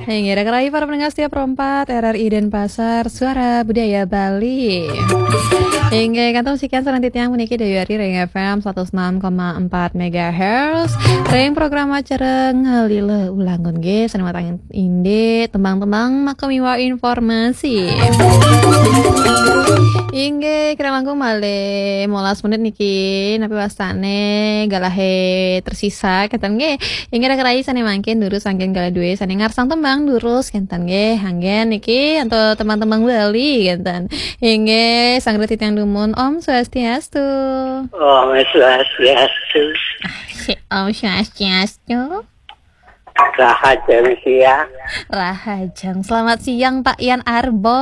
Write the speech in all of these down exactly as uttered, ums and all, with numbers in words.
Inggih, rak rai para pendengar setia Pro empat R R I Denpasar, Suara Budaya Bali. Inggih, kantun sekian sareng titiang puniki Dewi Ari ring F M satus enam koma empat megahertz. Ring program acara Ngalila Ulangun nggih, sane matang indik tembang-tembang maka miwah informasi. Inggih, kirang langkung malih molas menit niki, napi wastane galahe tersisa, kenten nggih. Inggih, rak rai sane mangkin durus anggen galah duwe sane ngarsang tembang durus, kenten nggih. Anggen niki antuk tembang-tembang Bali, kenten. Inggih, sareng titiang dumun, Om Swastiastu. Om Swastiastu. Si Om Swastiastu. Rahajeng siang. Rahajeng. Selamat siang, Pak Yan Arbo.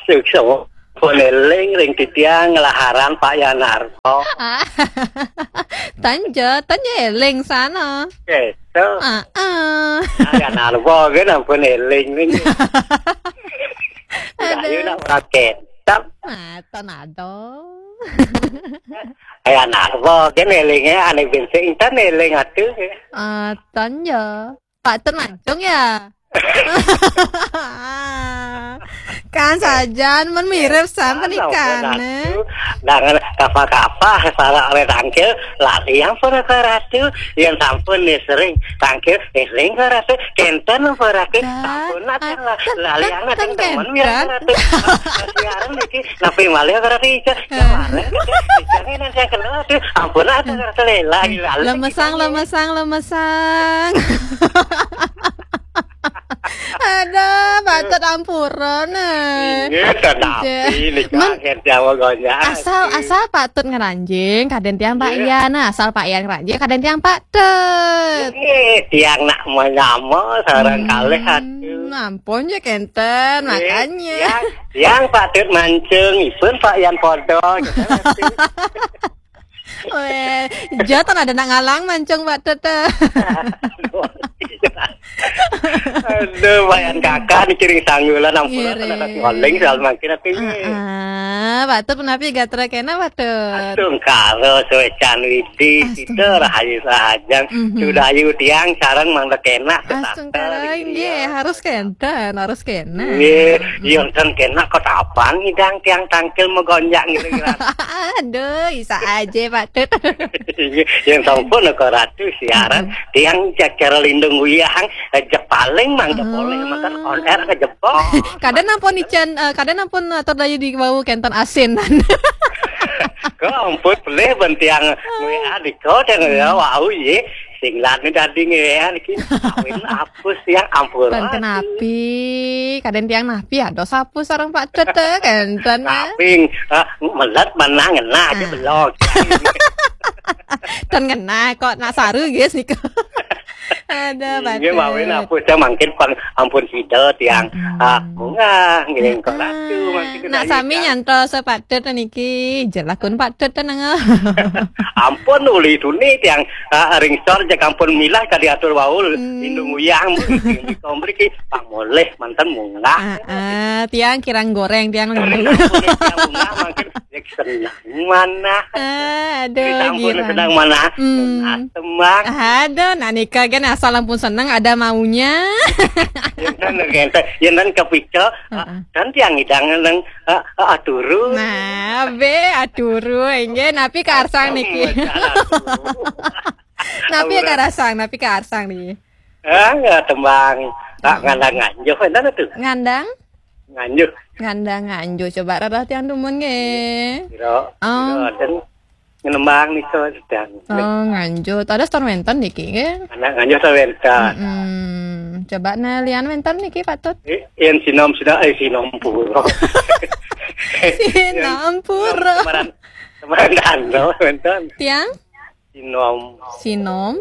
Suksma. Pun eling ring titiang nglaharan Pak Yan Arbo. Tan ja, tan ja eling sana. Gitu. Heeh. Pak Yan Arbo kan ampun eling ning. Aduh. Ayo nak ora ketap. Ah, tan ada. Pak Yan Arbo kan elinge ane ben sing tan eling aduh. Ah, tan ja. Pak Tut Mancung ya? Kan sajan men mirip san penikane. Nah, kapa-kapa salah oleh tangkil lari ampun ke ratu. Yang sampun nih sering tangkil eh sering ke ratu. Kenten apa ratu? Sampun lah lari anak teman ya ratu. Siaran iki napi malih ke ratu ijo. Kemarin ijo nanti yang kenal ratu. Ampun lah ke ratu lagi lali. Lemesang, lemesang, lemesang. Aduh, Pak Tut ampura nah. Inggih, kenapi nika nggih, Jawa Gonjang. Asal, asal Pak Tut ngranjing, kaden tiang Pak Ian. Nah, asal Pak Ian ngranjing, kaden tiang Pak Tut. Inggih, tiang nak menyama sareng kalih aduh. Ampun ya kenten, makanya. Tiang, tiang Pak Tut mancung, ipun Pak Ian podo. Weh, jatan ada nak ngalang mancung Pak Tut. Aduh, Pak Yan Kakak niki ring sanggulan ampun. Ngiring. Ada ngoling soal mangkin ati. Heeh, Pak Tut punapi gatra kena Pak Tut? Astungkara suecan widi, sida rahayu sahajeng. Sudayu tiang sareng mangda kena. Astungkara inggih, harus kenten, harus kena. Nggih, yen ten kena ketapan ngidang tiang tangkil megonjak ngiring. Aduh, isa aja Pak Tut. Yang sampun ke ratu siaran, tiang cacara lindung uyahang, eh, jek paling mangga boleh makan on air ke jebol. Kadang ampun ican, eh, kadang ampun atur dayu di bau kenten asin. Kok ampun pelih ben tiang W A di kau tiang ya, wau ye. Sing lani dadi ngean iki kawin apus ya ampun. Pan kenapi, kaden tiang napi ya dos apus sareng Pak Tut kenten. Kaping, ah, melet menang ngena aja belok. Tan ngena kok nak saru guys niku. Ada Pak Tut. Nggih mawin apus ya mangkin pang ampun sida tiang. Ah, bunga ngiring kok ratu mangkin. Nak sami nyantol se Pak Tut niki jelakun Pak Tut tenang. Ampun uli tuni tiang. Ah, ring sor jek ampun milah ka diatur wau lindung uyang mriki mriki pamoleh manten munggah. Ah, ah, tiang kirang goreng tiang lindung. Tiang munggah mangkin jek seneng manah. Ah, aduh, disampun girang. Seneng manah. Tembang. Aduh, nah nika kan asal ampun seneng ada maunya. Yen kan kepikir, ah, kan tiang ngidang nang, ah, ah, aturu. Nah, be aturu inggih napi karsang niki. Napi karsang, napi karsang niki. Ah, ya, tembang. Tak ngandang nganjuh enten tuh. Ngandang? Nganjuh. Ngandang nganjuh coba rarah tiang dumun nggih. Kira. Om. Kira ten ngenembang nika sedang. Oh, nganjuh. Ada ston wenten niki nggih. Anak nganjuh ston wenten. Mm-mm. Coba nah lian wenten niki Pak Tut. Eh, yen sinom sida eh sinom pura. Sinom pura. Semaran semaran danau wenten. Tiang? Sinom. Sinom.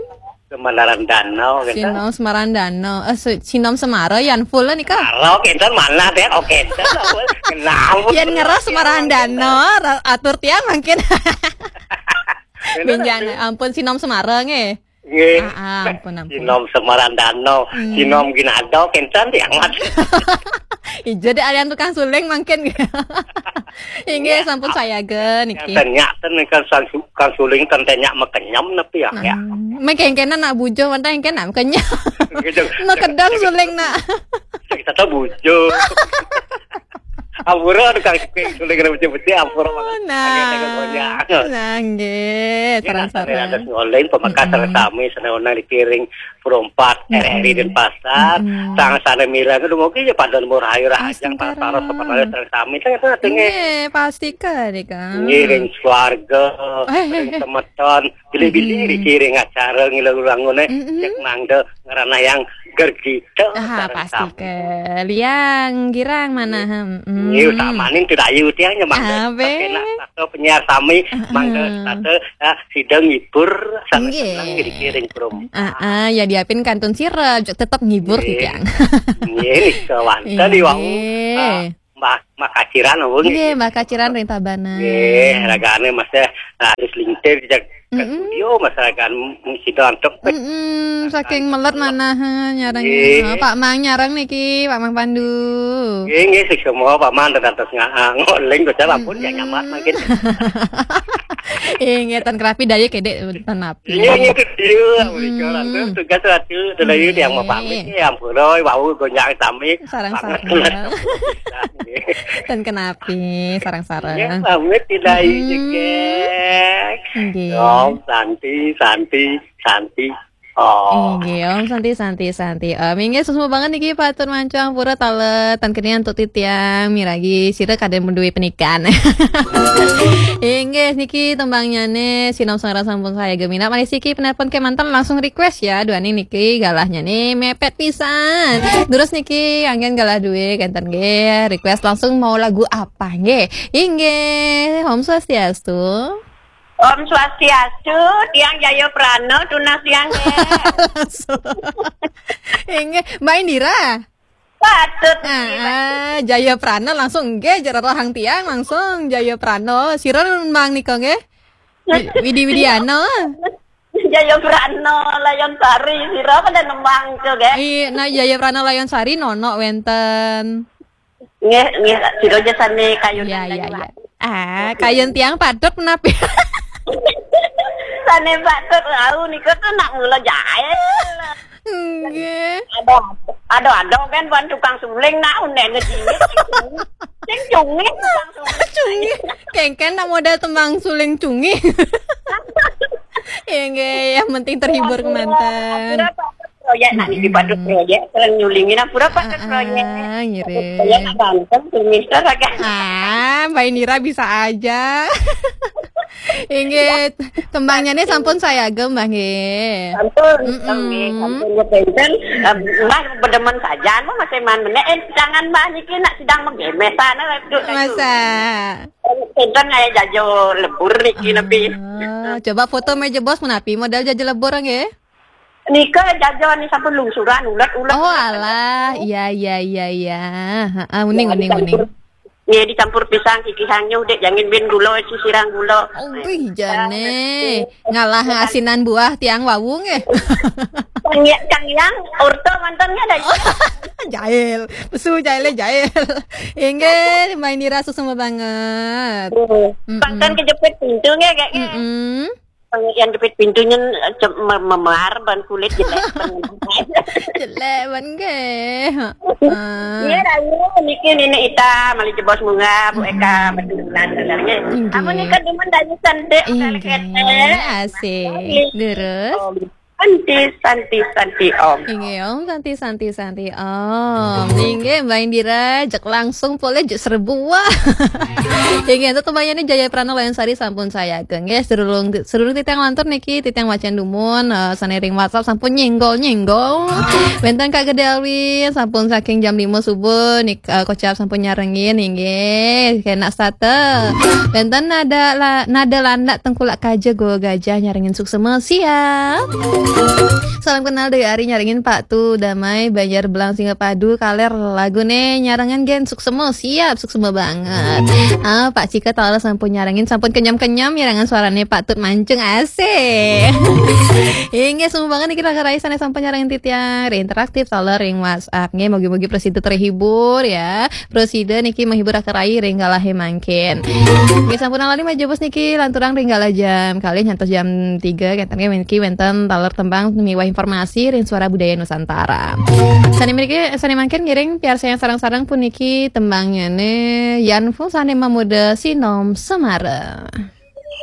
Semaran danau wenten. Sinom Semarandano. Eh, si-, Sinom Semara yan full nika. Karo kenten mana teh oke. Kenapa? Yan ngeras Semarandano, ra-, atur tiang mungkin. Benjang, ampun Sinom Semara nggih. Nggih. Ah, ah, ampun, ampun. Sinom Semarandano, Sinom Ginado kenten tiang mati. Ijo dek alian tukang suling mangkin. Inggih, sampun sayaga niki. Ten nyak ten kan sang su-, kang suling ten nyak makenyem napi ya. Nah, ya. Mengkengkenan nak bujo, mantap engken nak makenyem. Makedang suling nak. Kita tahu bujo. Ampura tukang suling kena betul-betul ampura. Oh, nah. Nah, nggih, sareng-sareng. Ada ngoleng pemakas sareng sami, sana onang dikiring perompat R R I Denpasar, sang sana milang itu mungkin ya pada nomor ayu rahajang, para-para sebenarnya sareng sami, kan itu artinya. Nggih, pasti kan, Kang. Ngiring swarga, ring semeton, pilih-pilih dikiring acara ngilang ulang ngene, cek mangda ngerana yang gergi. Ah, pasti ke liang girang mana, hmm. Iya, samanin tidak ayu tiang nyemang. Abe. Kena satu penyiar sami, mangga satu, ah, sidang ngibur, sana seneng dikiring perum. Ah, ah, ya diapin kantun sirep, tetap ngibur tiang. Iya, ini kawan. Tadi wau, ah, Mbak, Mbak Kaciran, apa nggih? Nggih, Mbak Kaciran ring Tabanan. Nggih, ragane masih, ah, harus lintir, dijak ke studio, masyarakat mung sida antuk. Mm-mm, saking melet manah, eh, nyarang. Nggih. Oh, Pak Mang nyarang niki, Pak Mang Pandu. Nggih, nggih, sik semua Pak Mang dados nga-, ah, ngoling kok sampun ya nyamat mungkin. Eh, nggih, ten kerapi daya kedek ten api. Iya, nggih, itu dia, mereka lantas tugas satu, delayu yang mau pamit, ya ampun, wau gonjang sami. Sarang-sarang. Nggih. Ten kenapi, sarang-sarang. Ya, pamit tidak izin, geng. Nggih. Om Santi, Santi, Santi. Oh. Inggih, Om Santi, Santi, Santi. Om, inggih, suksma banget niki, patur mancu ampura taler, tan kenian untuk titiang, miragi, sira kadang menduwe penikan. Inggih, niki tembangnyane, sinom sareng sampun saya gemina. Malih siki penelpon kemanten langsung request ya, duaning niki galahnyane mepet pisan. Terus niki anggen galah duwe, kenten nggih, request langsung mau lagu apa nggih? Inggih, Om Swastiastu. Om Swastiastu, tiang Jaya Prana, tunas tiang, nggih. Inggih, Mbak Indira. Patut, nggih, Mbak. Ah, ah, Jaya Prana langsung, nggih, jero rohang tiang langsung Jaya Prana. Sira nembang nika, nggih? Wi-, Widi Widiana. Jaya Prana, Layon Sari, sira pada nembang, nggih? Iya, nah, Jaya Prana Layon Sari, nono wenten. Nggih, nggih, sira aja sane kayun. Iya, iya, iya. Ah, kayun tiang patut menapi. Sane patut, au, nika tuh nak mula jahil. Nggih. Ada, ada, ada kan bukan tukang suling, nak, unek ngejingit, sing cungit, sing cungit tukang suling. Cungit. Kengken nak modal tembang suling cungit. Ya, nggih, yang penting terhibur kemanten. Proyek, nak niki patut proyek, sering nyulingin, ampura patut proyek. Ah, ngiring. Proyek nak banten, minister agak. Ah, Mbak Indira bisa aja. Inggih, tembangnya nih sampun saya agem, Mbak, nggih. Sampun, nggih, sampun, ya, benten. Eh, Mbak, bedemen saja, Mbak, masih man meneh. Eh, jangan, Mbak, niki nak sidang menggemes sana, duduk. Masa? Benten kayak jajo lebur niki, nepi. Ah, coba foto meja bos menapi modal jajo lebur, nggih? Nika jajo ni sampun lungsuran, ulet-ulet. Oh, alah. Iya, iya, iya, iya. Heeh, uning, uning, uning. Nggih, dicampur pisang, kikihang nyuh, dek, jangin bin gula, sisirang gula. Oh, wih, jane. Ngalah asinan buah tiang wau, nggih. Kang Ya-, Kang Yang, orto mantannya ada. Jahil. Pesu jahile jahil. Inggih, Mbak Indira suksma banget. Pangkan kejepit pintu, nggih, kayaknya. Mm-mm. Yang jepit pintunya, eh, cem-, me-, memar ban kulit jelek ban. Jelek ban nggih. Heeh. Iya, rayu, niki Nini Ita, malih jebos munggah, Bu Eka, betulan sebenarnya. Inggih. Amun nika demen dayu cantik, inggih, ketek. Asik. Terus? Om Santi, Santi, Santi, Om. Inggih, Om Santi, Santi, Santi, Om. Inggih, Mbak Indira, jek langsung poleh jek seribu. Wah. Inggih, untuk tembangnya ini Jaya Prana Layan Sari sampun saya ageng. Nggih, serulung, serulung titiang lantur niki, titiang wacan dumun, eh, sane ring WhatsApp sampun nyenggol-nyenggol. Wenten Kak Gede Alwi, sampun saking jam lima subuh, nik-, eh, kocap sampun nyarengin, inggih, kena sate. Wenten nada la-, nada landak tengkulak kaja goa gajah nyarengin suksema. Siap. Salam kenal dari Ari, nyarengin Pak Tu Damai, Banjar Belang, Singapadu, kaler lagune nyarengan gen suksema, siap, suksema banget. Ah, Pak Cika taler sampun nyarengin, sampun kenyam-kenyam nyarengan suarane Pak Tut Mancung, asik. Inggih, suksema banget niki Raka Rai sane sampun nyarengin titiang ring interaktif taler ring WhatsApp. Nggih, mugi-mugi prasida terhibur ya. Prasida niki menghibur Raka Rai ring galahe mangkin. Nggih, sampun lali majebos niki lanturang ring galah jam kalih ngantos jam tiga, kenten nggih niki wenten taler tembang miwah informasi ring Suara Budaya Nusantara. Sane mriki, sane mangkin ngiring piarsayang sareng-sareng puniki tembangnyane Yan Ful sane mamuda Sinom Semara.